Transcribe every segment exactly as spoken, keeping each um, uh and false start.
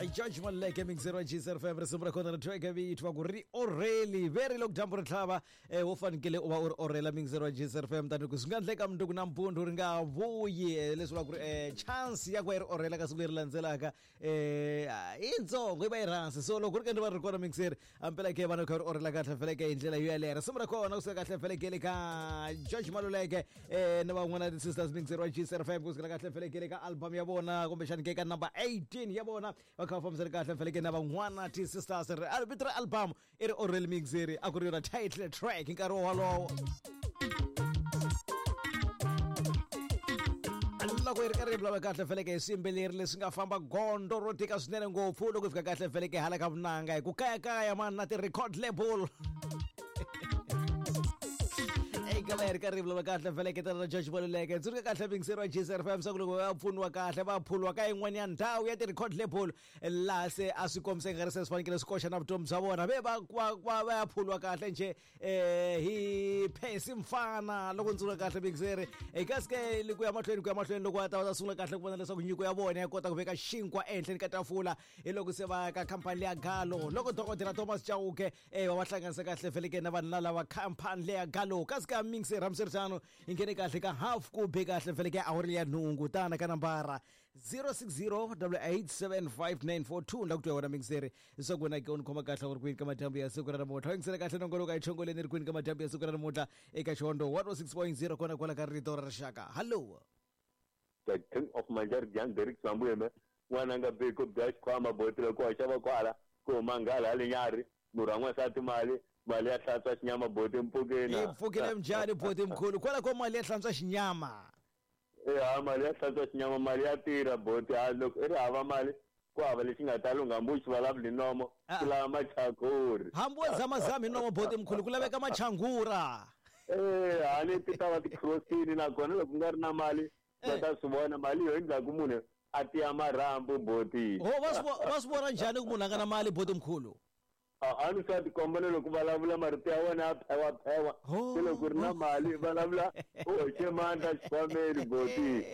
George Maluleke mixer wa G S F M risimu ra kona ri thweke vito ku ri oreli very loko dyambu ri tlhava eh wo fanekele u va u ri orela mixer wa G S F M tani ku swi nga endleka mundzuku nampundzu ri nga vuyi leswi vulaka ku ri eh chance ya ku va yi ri orela ka siku leri landzelaka eh i ntsongo yi va yi rhansi so loko ri ka ri va ri kona mixer ampela ke vana kha ri orela kahle feleke hi ndlela yo yaleyo risimu ra kona kusuka kahle feleke le ka George Maluleke eh na van'wana ti sisters mixer wa G S F M kusukela kahle feleke le ka album ya vona kumbexani ke ka number eighteen ya vona va kha va fambisana kahle feleke na van'wana ti sisters ri vito ra album i ri orel mixer a ku ri yona title track nkarhi wolowo loko yi ri karhi yi vulavula kahle feleke hi swiyimbeleri leswi nga famba gondzo ro tika swinene ngopfu loko hi fika kahle feleke hala ka vunanga hi ku kayakaya mani na ti-record label eka va hi ri karhi hi vulavula kahle feleke tana na George Maluleke tsundzuka kahle mixer wa G S F M swa ku loko va pfuniwa kahle va phulwa ka yin'wana ya ndhawu ya ti-record label laha se a swi kombisa nga ri se swi fanekele swi koxa na vutomi bya vona ve va va va ya phulwa kahle njhe eh hi Phesi Mfana loko ndzi tsundzuka kahle mixer kasi ke ku ya mahlweni ku ya mahlweni loko va ta va ta sungula kahle ku vona leswaku nyiko ya vona ya kota ku veka xinkwa ehenhleni ka tafula hi loko se va ka khampani leya Galo loko dokodela Thomas Chauke eh va va hlanganisa kahle feleke na vanhu lava khampani leya Galo kasi ka mixer hambiswiritano hi nghene kahle ka half ku be kahle feleke awuri ya nhungu tana ka nambara zero six zero eight seven five nine four two la ku twa wena mixer leswaku wena ke u ni khoma kahle u ri kwini ka madyambu ya siku ra namuntlha yingisela kahle nongoloko a yi chongoleni ri kwini ka madyambu ya siku ra namuntlha eka Xihondzo one oh six point zero kona kwala ka rito ra rixaka. Hallo The King of Manjari Jan Derek Sambuyeme n'wana nga biko bya xikhwama boti loko wa xava kwala ku huma nghala hale nyari murhu wa n'wansati mali mali ya hlantswa xinyama boti mpfukeni i pfukile njhani boti mkhulu kwala ko mali ya hlantswa xinyama e mali ya hlantswa xinyama mali ya tirha boti ha loko i ri hava mali ku hava lexi nga ta lungha hambi u xi vulavuli hi nomo ku lava machanguri hambi wo zamazama hi nomo boti mkhulu ku laveka machangura e hani ti ta va ti-crossini nakona loko ku nga ri na mali va ta swi vona mali yo endlaku munhu a tiya marhambu boti ho va swi va swi vona njhani ku munhu a nga na mali boti mkhulu a ni swa tikomba na loko vulavula marito ya wena ya phewa-phewa se loko ri na mali vulavula u hoxe mandla xikhwameni boti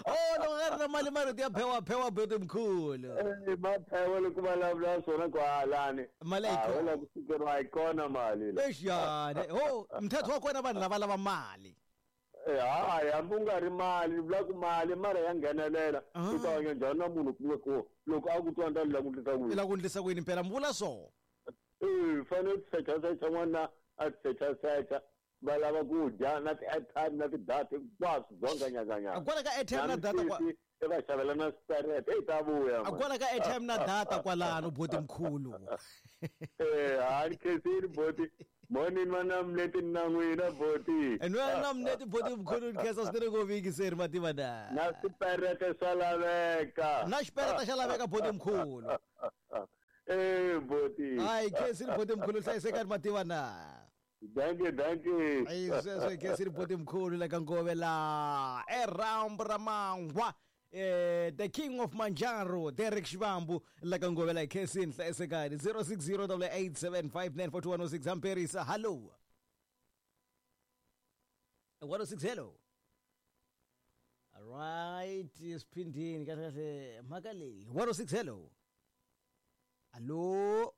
o loko nga ri na mali marito ya phewa-phewa boti mkhulu e ma phewa loko vulavula swona ku halani mali a yi la ku sukeriwa yi kona mali exiyani ho mthetho wa kona vanhu lava lava mali hayi hambi u nga ri mali vula ku mali mara ya nghenelela u ta hanya njhani na munhu kumbe ku loko a ku twa ni ta la ku ndlisa ku yini la ku ndlisa ku yini mpela mi vula so e fanele ti secha-secha n'wana a ti secha-secha va lava ku dya na ti-airtime na ti-data hinkwaswo dzonga nyakanyaka kwala ka airtime na data kwa i va xavela na swiperete eyi ta vuya kwala ka airtime na data kwalano boti mkhulu e hani khensini boti morning mana mleti na n'wina boti nwena na mleti boti mkhulu ni khensa swinene ngopfu yingiseri mativa na na swiperete swa laveka na xiperete xa laveka boti mkhulu e boti hayi khensini boti mkhulu hlayisekani mativa na danke danke ayi sweswo khensini boti mkhulu la ka Ngove la erambu ra mangwa eh the King of Manjaro Derek Shivambu la ka Ngove la khensini hlayisekani zero six zero eight seven five nine four two one oh six amperisa hello one oh six hello all right siphindini kahle kahle mhaka leyi one oh six hello Allo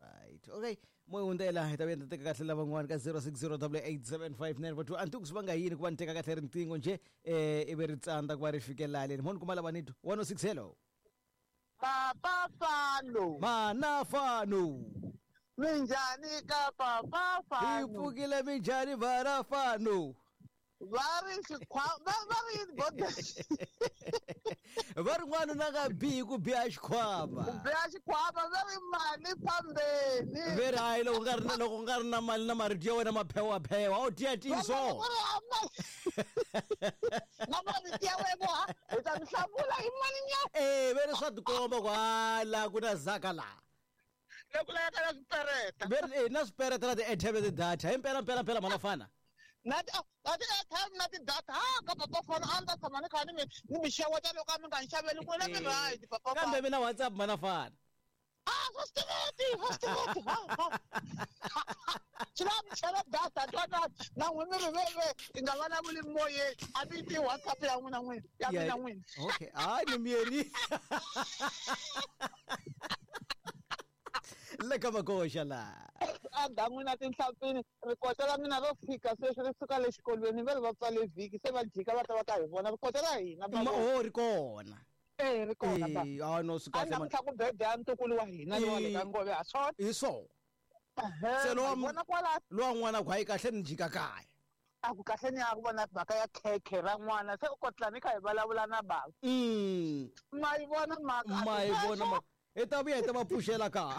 right okay moya hundzela hi ta vuya ni teka kahle lavan'wana ka zero six zero eight seven five nine four two a ni tivi ku swi vanga yini ku va ni teka kahle riqingho njhe eh ivi ri tsandza ku va ri fikela leni mo ni kuma lava ni twa one oh six hello Papa Fano mana Fano minjhani ka Papa Fano hi pfukile minjhani vana Fano va ri xikhwama va ri yini boda va ri n'wanuna nga bihi ku biha xikhwama ku biha xikhwama va ri mali fambeni ve ri hayi loko nga ri na loko nga ri na mali na marito ya wena maphewaphewa a wu tiya tiso na marito ya wena hi ta mi hlamula hi mali nyana e ve ri swa tikomba ku hala ku na zaka laha loko laveka na swipereta ve ri na swipereta na ti-airtime na ti-data hi mpela mpela mpela mhana fana na ti na ti-airtime na ti-data ha ka Papa Fano a ni ta tshama ni kha ni mi ni mi xeweta loko a mi nga ni xaveli n'wina mi right Papa kambe mina WhatsApp mana fana Ah, swa swi tiveki, swa swi tiveki. Ha, ha. Swi lava mi chela data twana na n'wina mi ri veve hi nga vulavuli moyeni a mi ti WhatsApp ya n'wina n'wina ya Yeah. mina n'wina. Okay, hayi ni miyeri. Le ka makoxa la. A dan'wini tinhlampfini rikota ra mina ro fika sweswi ri suka le xikolweni va ri va pfale vhiki se va jika va ta va ta hi vona rikota ra hina Ma ba o ri kona. eh ri kona ba. Eh, ah no swi A kahle man. namuntlha ku birthday ya ntukulu wa hina lowa le ka Eh. Ngove ha swona. Hi swona. Ehe, Se lowa ma hi vona kwala Lowa n'wana ku hayi kahle ni jika kaya. a ku kahle ni ya ku vona mhaka ya khekhe ra n'wana se u kotla ni kha hi vulavula na bava. Mm. Ma yi vona mhaka a Ma yi ti vona sweswo. ma. I ta vuya hi ta va pfuxela kaya.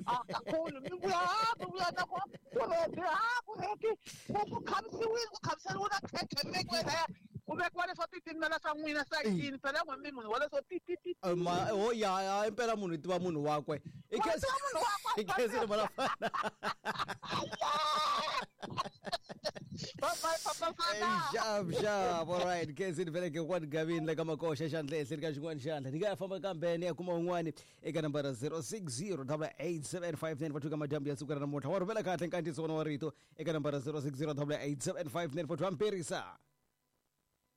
A kakhulu mi vuya ha mi vuya na ku ku ready ha ku ready ku ku khamisiwile ku khamiseriwe na khekhe mi vekiwe laya ku vekiwa leswo titimela swa n'wina sayitini phela n'we mi munhu wa leswo ti ti ti Eh, Ma oh ya ya impela munhu i tiva munhu wakwe. I Wa khensa tiva munhu wakwe, i khensile malafana. Bye bye papa fana. Xap xap all right khensile vele ke kwani gavini le ka makoxa xandla ehenhleni ka xin'wana xandla ni nga ya famba kambe ni ya kuma un'wani eka nambara zero six zero double eight seven five nine four two ka madyambu ya siku ra namuntlha wa rhumela kahle nkandziyiso wona wa rito eka nambara zero six zero double eight seven five nine four two amperisa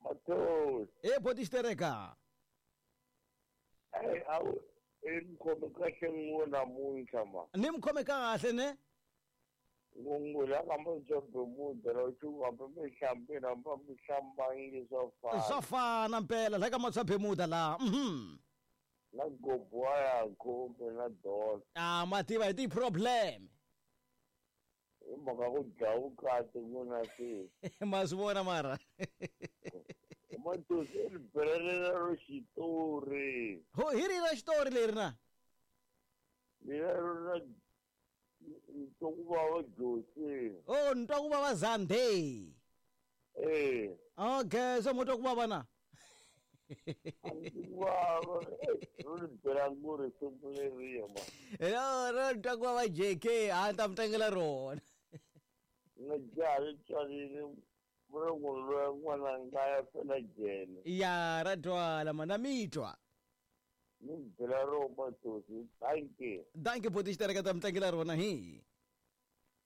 Mathos, e boti xitereka eh awu i ni khome kahle n'we namuntlha ma. ni mi khome kahle ne Ngungula ka Matswa-Bermuda la chu hambi mi hlambile hambi a mi hlambangi swa fana. swa fana mpela la ka Matswa Bermuda laha mhm Na gobo wa ya khumbi na dola. ah ma tiva hi ti-problem Hi mhaka ku dlaya vukati n'wina se. ma swi vona mara Mathos i ri belelela ro xitori. ho hi ri ra xitori leri na Mina ro na twa ku vava Josi. o ni twa ku vava zande Eh. okay so mo twa ku vava na A ndzi ku vava. Eh, ro ri bela ngo risimu leriya ma. ro ro ni twa ku vava J K a ni ta mi tlangela rona Na jaha ri tswarile ro n'wi loya n'wana nga ya fela jele. ya ra twala ma na mi twa Ni bela ro Mathosi. Thank you. danke boti xitereka ta mi tlangela rona hi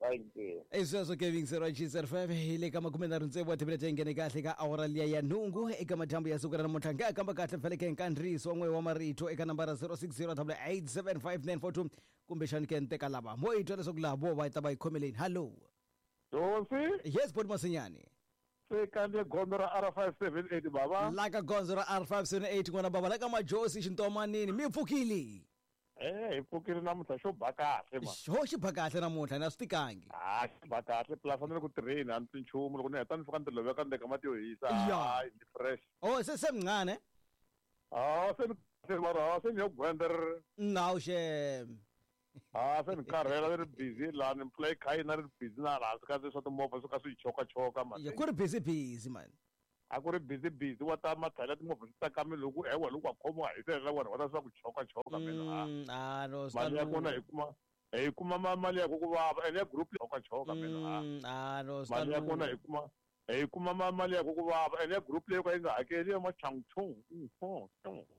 Thank you. i sweswo kevin zero g zero five hi le ka makume nharhu tsevu wa timinete yi nghene kahle ka awara liya ya nhungu eka madyambu ya siku ra namuntlha nga kamba kahle mfeleke nkandziyiso wa n'we wa marito eka nambara zero six zero double eight seven five nine four two kumbexani ke ni teka lava mo yi twa leswaku laha vo va ta va yi khomeleni hallo Josi yes boti masinyani se kandziye gondzo ra R five seven eight baba. la ka gondzo ra R five seven eight n'wana baba la ka majosi xintomanini mi pfukile Eh hi pfukile namuntlha xo ba kahle ma. ho xi ba kahle namuntlha na swi tikangi Ah xi ba kahle plus a ni le ku tirheni a ni twi nchumu loko ni heta ni fika ni ti loveka ni teka mati yo hisa. Ya. Hayi ni fresh. o se se mncane Ah se ni se mara ah se ni yo gwenda ri nawu xem ah se ni karhela ni ri busy laha ni mpfula yi kha yi na ri busy na laha hansi ka swa timovha swo ka swi yi chokachoka Ya, man. ku ri busy busy man A ku ri busy busy wa ta matlhela timovha ti tsakamile loko ewa loko wa khomiwa hi selela wena wa ta swa ku chokachoka mina. Ah. Mm, ah no swi ta Mali ya kona lungha. hi kuma hi kuma ma- mali ya ku ku vava ene ya group chokachoka mina. Ah. Mm, ah no swi ta Mali ya kona lungha. hi kuma hi kuma ma- mali ya ku ku vava ene ya group leyi yo ka yi nga hakeli ya machangchung.